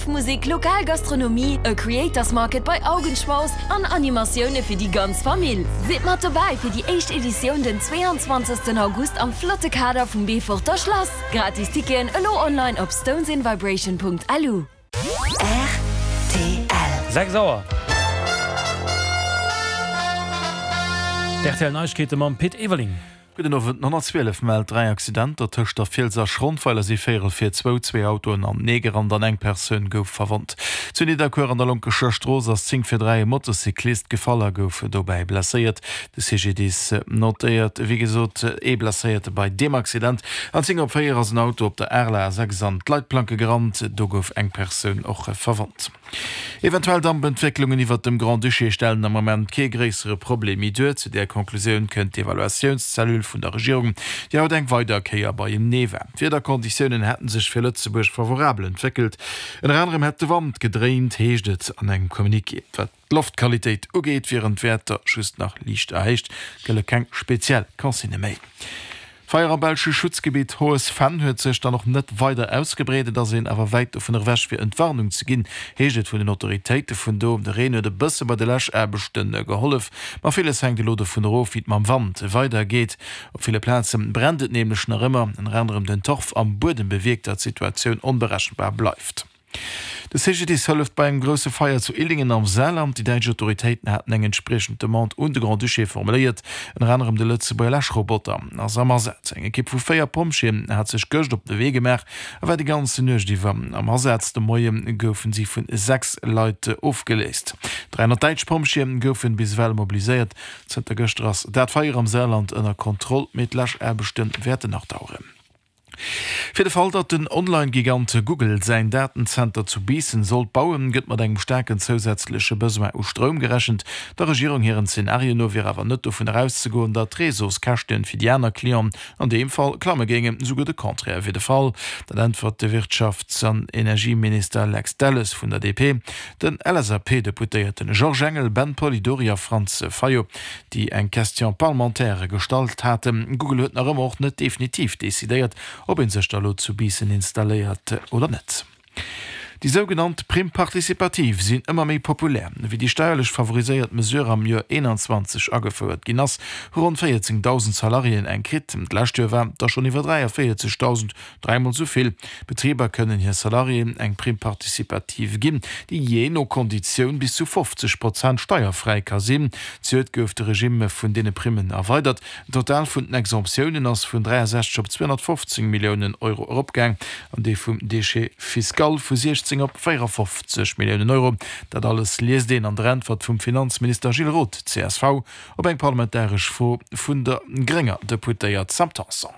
Live Musek, lokal Gastronomie, e Creators Market bei Augenschmaus an Animatioune fir déi ganz Famill. Sidd mat dobäi fir déi éischt Editioun den 22 August am flotte Kader vum Beeforter Schlass. Gratis Ticketen elo online op stonesinvibration.lu. Rtl. 6 Auer. D'RTL Neiegkeete mam Pit Everling. Gudden Owend. Den 112 mellt 3 Accidenter tëscht der Fiels a Schrondweiler si véierel vir zwou zwee Autoen anenee gerannt an eng Persoun gouf verwonnt. Zu Nidderkuer an der Lonkescher Strooss ass 10 vir 3 e Motocyclist gefall a gouf dobäi blesséiert. De CGDIS notéiert wéi gesot ee Blesséierte bei deem Accident. An 10 op 4 ass en Auto op der Areler A6 an d'Leitplanke gerannt. Do gouf eng Persoun och verwonnt. Eventuell Dampentwécklungen iwwert dem Grand-Duché stellen am Moment kee gréissere Problem méi duer. Zu där Konklusioun kënnt d'Evaluatiounscellule vun der Regierung, déi haut eng weider Kéier beienee war. D'Wiederkonditiounen hätte sech fir Lëtzebuerg favorabel entwéckelt. Ënner anerem hätt de Wand gedréint, heescht et an engem Communiqué. Wat d'Loftqualitéit ugeet, wieren d'Wäerter just nach liicht erhéicht, gëlle keng speziell Consignë méi. D'Feier am belsche Schutzgebitt Hohes Venn huet sech dann och net weider ausgebreet. Et ass een awer wäit dovun ewech fir Entwarnung ze ginn, heescht et vun den Autoritéite vun do. De Reen huet e bësse bei de Läschaarbechte gehollef, ma villes hänkt elo dovun erof, wéi et mam Wand weider geet. Op ville Plaze brennt et nämlech nach ëmmer. Ënner anerem den Torf am Buedem bewierkt, datt d'Situatioun onberechenbar bleift. De CGDIS hëlleft bei engem grousse Feier zu Illingen am Saarland. Déi däitsch Autoritéiten haten eng entspriechend Demande un de Grand-Duché formuléiert. Ënner anerem de Lëtzebuerger Läschroboter ass am Asaz. Eng Ekipp vu 4 Pompjeeën hat sech gëscht op de Wee gemaach a war déi ganze Nuecht iwwer am Asaz. De Moie goufen si vun 6 Leit ofgeléist. 300 däitsch Pompjeeë goufen bis ewell mobiliséiert. Zënter gëschter ass dat Feier am Saarland ënner Kontroll, mee d'Läschaarbechte wäerten nach daueren. Fir de Fall, datt den Online-Gigant Google säin Datenzenter zu Biissen sollt bauen, gëtt mat engem staarken zousätzleche Besoin u Stroum gerechent. Der Regierung hiren Zenario no wier awer net dovun erauszegoen, datt d'Réseauskäschte fir déi aner Clienten an deem Fall klamme géingen. Souguer de Contraire wier de Fall. Dat äntwert de Wirtschafts an Energieminister Lex Delles vun der DP den LSAP-Deputéierten Georges Engel, Ben Polidori a Franz Fayot. déi eng Question parlementaire gestallt haten. Google huet nach ëmmer och net definitiv decidéiert, ob ee sech da lo zu Biissen installéiert oder net. Déi sougenannt Prime participative sinn ëmmer méi populär. Wéi déi steierlech favoriséiert Mesure am Joer 21 agefouert ginn ass, hu ronn 14.000 Salariéen eng kritt. D'lescht Joer waren et der schonn iwwer 43.000. Dräimol esou vill Betriber kënnen hir Salariéen eng Prime participative ginn, déi jee no Konditioun bis zu 50 Prozent steierfräi ka sinn. Zejoert gouf de Regimm vun deene Primmen erweidert. Den Total vun den Exemptiounen ass vun 63 op 215 Milliounen Euro eropgaang an dee vum Déchet fiscal vu 16 op 54 Milliounen Euro. Dat alles liest een an der Äntwert vum Finanzminister Gilles Roth, csv, op eng parlamentaresch Fro vun der grénger Deputéiert Sam Tanson.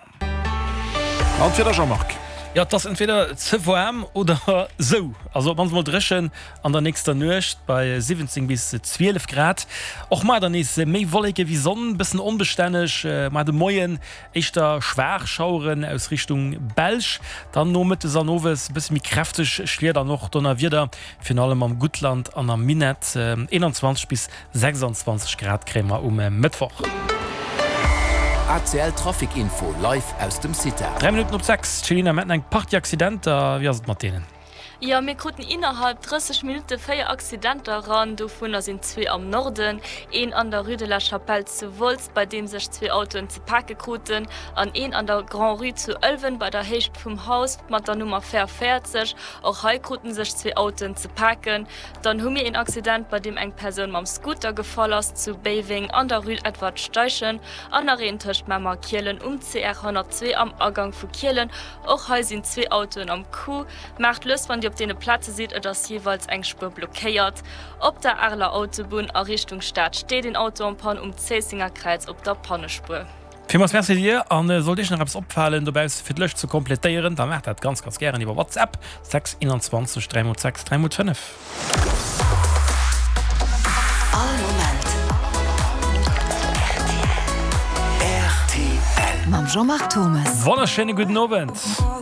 An d'Wieder Jean-Marc? Jo, et ass entweder ze waarm oder sou, also op mannst mol dréchen an der nächster Nuecht bei 17 bis 12 Grad. Och mar dann nees méi Wolleke wéi Sonn, bëssen onbestänneg mar de Moien, éischter schwaach Schaueren aus Richtung Belsch, dann nomëttes an owes e bësse méi kräfteg Schliet an och Donnerwieder, virun allem am Guttland an am Minett. 21 bis 26 Grad kréie mer um Mëttwoch. ACL Trafic Info live aus dem CITA. 3 Minutten op 6, Céline, mir haten eng Partie Accidenter, wéi ass et mat deenen? Jo, mir kruten innerhalb 30 Minutte 4 Accidenter eran, dovunner sinn zwee am Norden, een an der Rue de la Chapelle zu Wolz, bei deem sech zwee Autoen ze pake kruten, an een an der Grand-Rue zu Ëlwen bei der Héicht vum Haus mat der Nummer 44. Och hei kruten sech zwee Autoen ze paken. Dann hu mir een Accident, bei deem eng Persoun mam Scooter gefall ass zu Béiweng an der Rue Edward Steichen an nach een tëscht Mamer a Kielen um CR 102 am Agang vu Kielen. Och hei sinn zwee Autoen am Coup. Maacht lues wann Dir op deene Plaze sidd, et ass jeeweils eng Spuer blockéiert. Op der Areler Autobunn a Richtung Stad steet een Auto en Panne um Zéissenger Kräiz op der Pannespuer. Villmools Merci dir an sollt iech nach eppes opfalen dobausse fir d'Lëscht ze kompletéieren, da maacht dat ganz ganz gären iwwer WhatsApp 6 21 3 x 6 3 x 5. All Moment rtl. Mam Jean-Marc Thommes. Wonnerschéine gudden Owend.